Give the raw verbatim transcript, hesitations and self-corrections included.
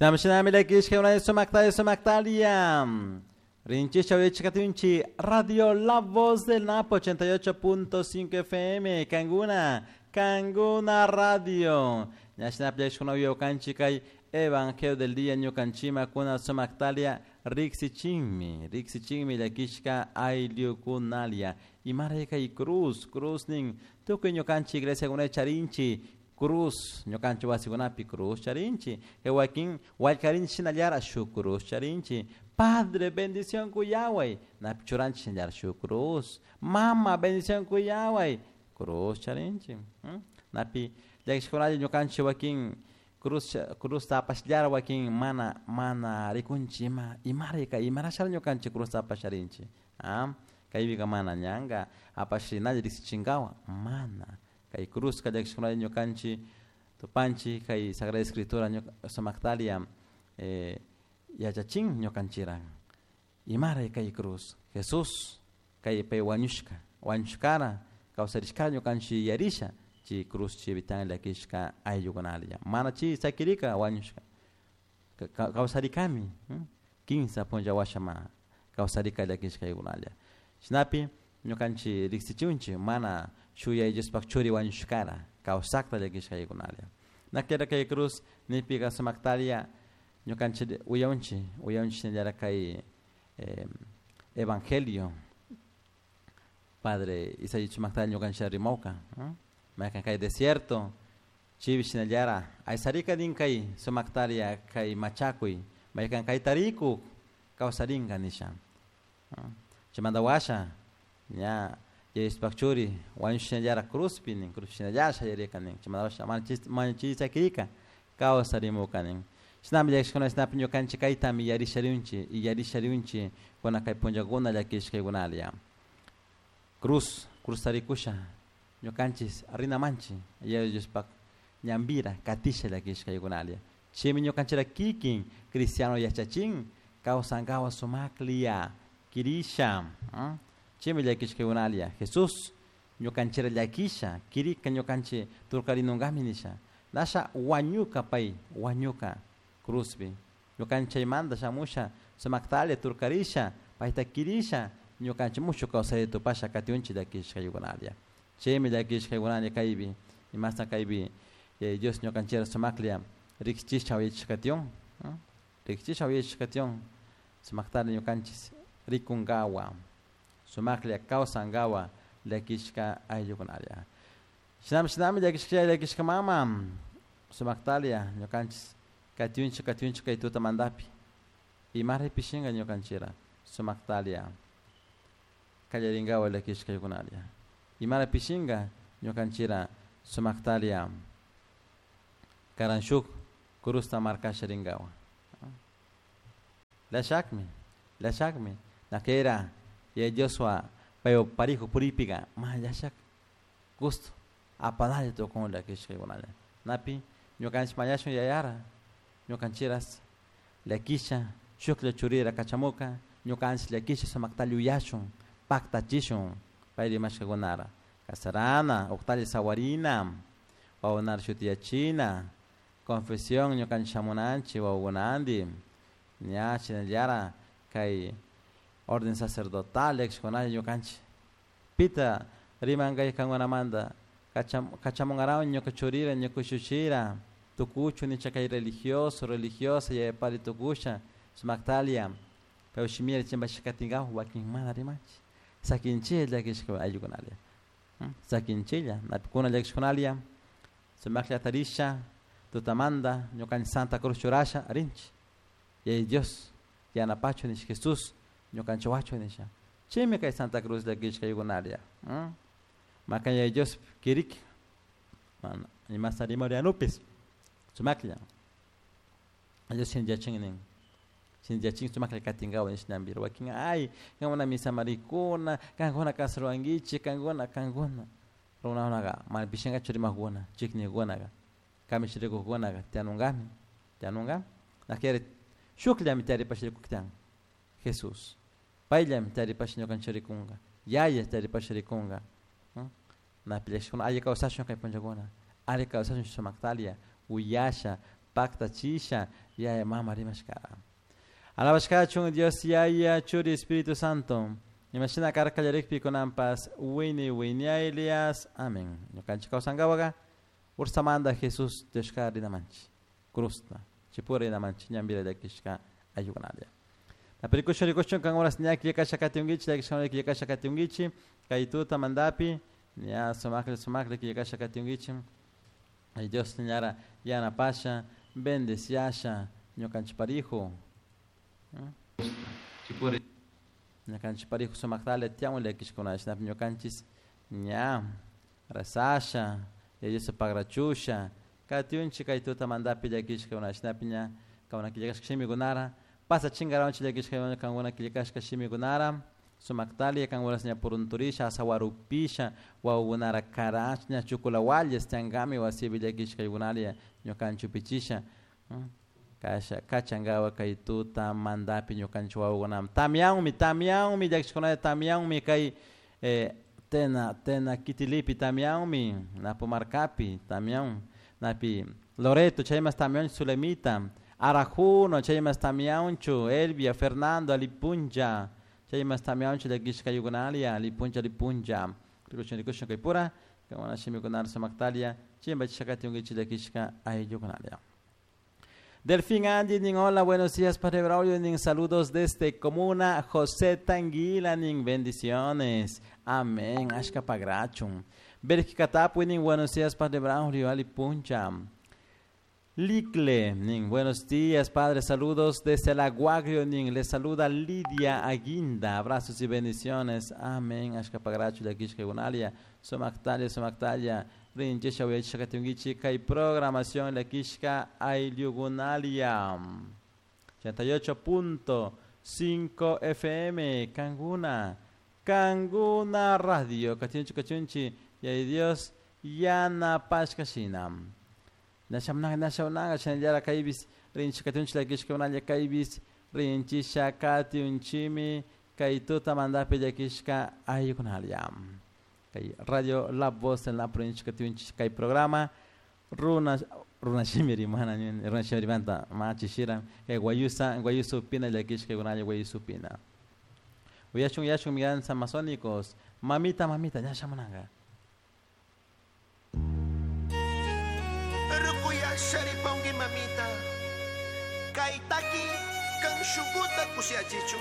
Shinami shinami llakishka sumaktalia sumaktalia. Rinchisha uyachikatunchi Radio La Voz del Napo ochenta y ocho punto cinco F M Canguna, Canguna Radio. Ñashinap llakishkuna uyawkanchi kay Evangelio del Día ñukanchima kuna sumaktalia riksichinmi, riksichinmi llakishka ayllukunalia. Imaray kay cruz, cruz nin tukuy ñukanchi iglesia kuna charinchi cruz, ñukanchi wasikunapi cruz charinchi, kay wakin wallkarinchi shinallara shuk cruz charinchi. Padre, bendición kuyaway, napi churanchi shinallara shuk cruz. Mama, bendición kuyaway, cruz charinchi. ¿Mm? Napi llakishkunalla ñukanchi wakin cruz, cruz tapashllara wakin mana, mana rikunchi ima, imarika, imarashara ñukanchi cruz tapasharinchi. ¿Ah? Kaypika mana ñanga apashinalla riksichinkawa, mana. Kay cruz ka llakishkunalla ñukanchi tupanchi kay Sagrada Escritura ñuka, sumaktalia, eh, yachachin ñukanchira. Imaray kay cruz, Jesús kay pay wañushka, wañushkara kawsarishkara ñukanchi yarisha chi cruz chi bitan llakishka ayllukunalla. Mana chi sakirika wañushka. Ka-, kawsarikami, hmm? Kinsa punlla washama kawsarika llakishka ayllukunalla. Shinapi ñukanchi riksichunchi mana shuyay Diospak churi wañushkara kawsakta llakishka ayllukunalla. Nakera kay cruz nipika sumaktalia ñukanchi uyaunchi, uyaunchi shinallara kay, eh, evangelio. Padre Isaías sumaktalia ñukanchi rimawka, ¿eh? Maykan kay desierto chivi shinallara aysarika din kay sumaktalia kay machakuy maykan kay tariku kawsarinka nisha. ¿Eh? Chimanda washa ña Diospak churi wañushinallara cruzpi nin, cruz shinallara shayarika nin. Chimanda washa mana chisakirika kawsarimuka nin. Shinami llakishkuna shinapi ñukanchik kaytami yarisharunchi y yarisharunchi kuna kay punllakuna llakishkaykunalla. Cruz, cruz tarikusha ñukanchis rinamanchi Diospak ñambira katisha llakishkaykunalla. Chaymi ñukanchira kikin cristiano yachachin kawsankawa sumakliya kirisha. ¿Mm? Chaymi llakishkaykunalla. Jesús ñukanchira llakisha kirika ñukanchi turkarinungami nisha. Nasha wañuka pay, wañuka cruzpi. Ñukanchaymanta shamusha sumaktalia turkarisha payta kirisha ñukanchik mucho kawsay tupasha katiunchi llakishkaykunalla. Chaymi llakishkaykunalla kaypi imasta kaypi, eh, Dios ñukanchira sumaklia riqsichisha uyachishkation, ¿no? Riqsichisha uyachishkation sumaktalia ñukanchis rikunkawa sumaklia kawsankawa llakishka ayllukunalla. Shinami shinami llakishka llakishka mama sumaktalia ñukanchis katiunchi katiunchi kay tuta mandapi imaray pishinka ñukanchira sumaktalia kallarinkawa llakishkaykunalla. Imara pishinka ñukanchira sumaktalia karanshuk cruzta markasha rinkawa. Llashakmi, llashakmi nakera ya Dioswa payo parijo puripika ma llashak gusto apanalla tukun llakishkaykunalla. Napi ñukanchik mañashun yayara ñukanchiras llakisha shuklla churira kachamuka ñukanchik llakisha sumakta yuyashun paktachishun pay rimashkakunara kasarana uqtalla sawarina wawunara shutiyachina confesión ñukanchik shamunanchik wawkunanti ña shinallara kay orden sacerdotal llakishkunalla ñukanchik pita rimankay kankunamanta kacham-, kachamunkarawan ñuka churira ñuka shushira tukuchu nicha kay religioso religiosa yayapari tukusha sumaktalia pero shimira chimpashkatinkaw wakin mana rimanchik sakinchilla llakishka ayllukunalia. ¿Mm? Sakinchilla napikuna llakishkunalia sumaklla tarisha tutamanta ñukanchik Santa Cruz churasha rinchik yaya Dios yanapachu nish Jesús ñukanchik wachu nisha chaymi kay Santa Cruz llakishka ayllukunalia. ¿Mm? Makan yaya Dios kirik mana imasta rimarianupis sumaklla Dios sinchachin nin sinchachin sumaklla katinkawa nish ñambira wakin ay kankuna misa marikuna kankuna kasruwankichik kankuna kankuna runakunaqa mana pishinkachu rimakuna chiknikunaka kamishirikukunaka tiyanunkami tiyanunkami nakeri shukllami tiyaripash rikuktiyan Jesús payllami tiyaripash ñukanchik rikunka yaya tiyaripash rikunka. ¿Mm? Napi llakishkuna alli kawsashun kay punllakuna alli kawsashun sumaktalia uyasha paktachisha Yaya mama rimashkara. Alabashkachun Dios Yaya Churi Espíritu Santo. Imashina karka llarikpi kunanpas wini winiaylias. Amén. Ñukanchik kawsankawaqa ursamanta Jesús Dioska rinamanchik. Cruzta. Chipura rinamanchik ñanpira llakishka ayukunalla. Napirikushun rikushun kan horas ña killkasha katiunkichik llakishka killkasha katiunkichik kay tuta mandapi ña sumakli sumakli killkasha katiunkichik. Ay Dios ñara yanapasha bendeciasha ñukanchik parijo. Chipura ñukanchik parijo sumaktalla tiyan llakishkuna shinapi ñukanchis ña rasasha Dios pagrachusha katiunchik kay tuta mandapi llakishkuna shinapi ña kauna killkashka shimikunara pasa chingaranchik llakishka kankuna killkashka shimikunara sumaktalla kankunas ña purunturisha asawarupisha wawakunara karash ña chukulawalles tiyankami wasipi llakishkaykunalla ñukanchik upichisha kasha kachankawa kay tuta mandapi ñukanchik wawakunaman tamyanmi tamyanmi llakishkunalla tamyanmi kay eh, tena tena kitilipi tamyanmi Napomarcapi tamyan napi Loreto chaymas tamyanchu Sulemita Arajuno chaymas tamyanchu Elvia Fernando Alipuncha chaymas tamyanchu llakishkaykunalia Alipuncha Alipuncha rikushun rikushun kaypura kankuna shimikunara sumaktalia chimpachisha katiunkichik llakishka ayllukunalia. Delfín Andy, nin hola, buenos días, Padre Braulio, nin saludos desde Comuna José Tanguila, nin bendiciones. Amén, ashka pagrachun. Bélgica Tapui, nin buenos días, Padre Braulio, Ali Puncha. Licle, nin buenos días, Padre, saludos desde la Guagrio, nin les saluda Lidia Aguinda, abrazos y bendiciones. Amén, ashka pagrachu, llakishka gunalia, sumaktalla, sumaktalla. Rinchisha uyachisha katiunkichik kay programación llakishka ayllukunalia ochenta y ocho punto cinco F M Kanguna Kanguna Radio kachunchi kachunchi yay Dios yanapashka shina nashamnaga nashamnaga shinallara kaybis rinchi katiunchi llakishka unalla kaybis rinchisha katiunchimi kay tuta mandapi llakishka ayllukunalia. Kay Radio La Voz en la provincia katiunchik kay programa runa runa shimi rimana runa shimi rimanta machishira kay guayusa guayusa upina llakishka kunalla guayusa upina uyashun uyashun migrantes amazónicos mamita mamita ña shamunanga Rukuyasharipanki mamita kay taki kan shukuta kushiachichu.